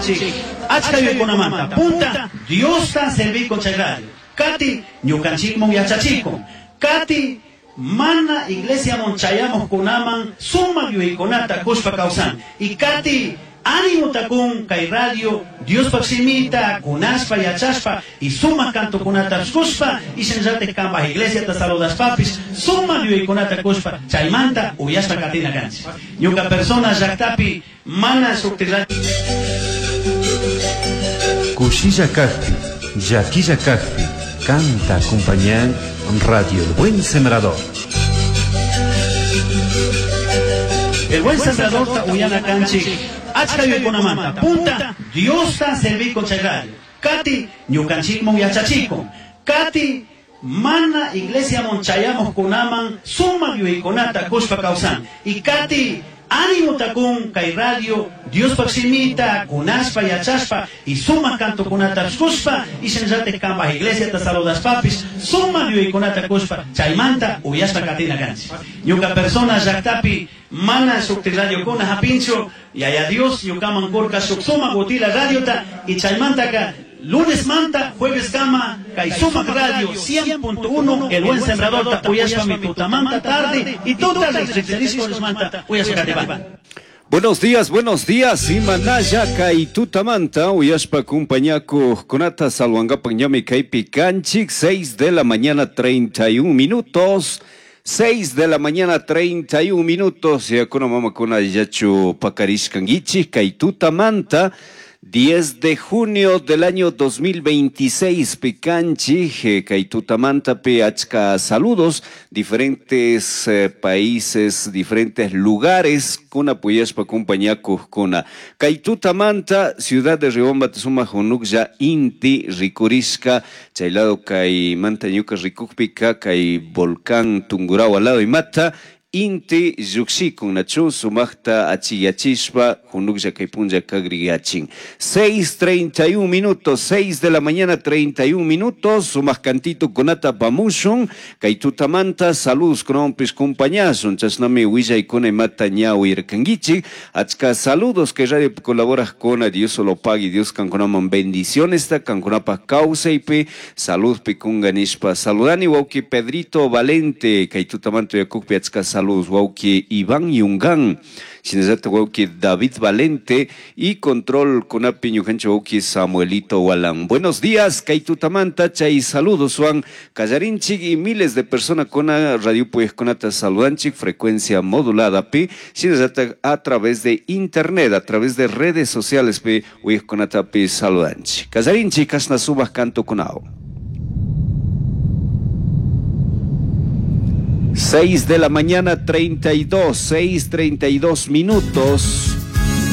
kanchik achka yuyaykunamanta. Punta, Diosta servikun chay radio. Kati, ñukanchikmun yachachikun. Kati, mana iglesiamun chayamuqkunaman sumaq yuyaykunata kushpa kawsan. Y kati, animuta kun kay radio Diospaq shimita kunashpa yachashpa y sumaq cantokunata kushpa y shinallatik kanpaq iglesiata saludashpapis sumaq yuyaykunata kushpa chaymanta uyashpa katina kanchik. Ñuka persona llaktapi mana shukti radio. Kushilla kakpi, llaquilla kakpi, canta acompañan Radio El Buen Sembrador. El Buen Sembrador ta uyana kanchik achka yuyaykunamanta. Punta, Diosta servikun chay radio. Kati, ñukanchikmun yachachikun. Kati, mana iglesiamun chayamuqkunaman sumaq yuyaykunata kushpa kawsan. Y kati, animuta kun kay radio Diospaq shimita kunashpa yachashpa y sumaq cantokunata kushpa y shinallatik kanpaq iglesiata saludashpapis sumaq yuyaykunata kushpa chaymanta uyashpa katina kanchik. Ñuka persona llaktapi mana shukti radiokuna hapinchu Yaya Dios ñukaman kurka shuk sumaq utila radiota y chaymantaka lunes manta jueves kama kay sumaq radio 100.1 El Buen Sembrador ta uyashpami tutamanta tarde y tuta manta uyashpa katipani. Buenos días, buenos días. Imanalla kay tutamanta uyashpa kumpañakuqkunata salwankapak ñami kaypi kanchik 6 de la mañana 31 minutos. 6 de la mañana 31 minutos. Yakuna mamakuna yachu pakarishkankichik kay tutamanta 10 de junio del año 2026 pikanchik kay tutamanta pi achka saludos diferentes países, diferentes lugares kuna puyashpa kumpañakuqkuna. Kay tutamanta ciudad de Riobamba sumaq hunuklla inti rikurishka chay lado kay manta ñuka rikukpika kay volcán Tungurahua lado imata inti llukshikun nachu sumaqta achiyachishpa hunuklla kay punlla kagriyachin. 6:31 minutos, 6 de la mañana 31 minutos, sumaq cantito kunata pamushun, kay tutamanta saludos kunawanpis kumpañashun, chashnami willaykuna imata ña uyarkankichik, achka saludos kay radio colaboraqkuna, Dios lo pague, Dios kankunaman bendiciones ta kankunapaq kawsaypi, saludpi kunga nishpa saludani wawki Pedrito Valente, kay tutamanta uyakukpi achka saludos wawki Iván Yungán, shinallata wawki David Valente y control kunapi ñukanchik wawki Samuelito Walán. Buenos días, kay tutamanta chay saludos wan kallarinchik y miles de personas kuna radio kunata saludanchik frecuencia modulada pi, shinallata a través de internet, a través de redes sociales pi uyajkunata pi saludanchik. Kallarinchik kashna sumaq canto kunao. 6 de la mañana 32, 6:32 minutos.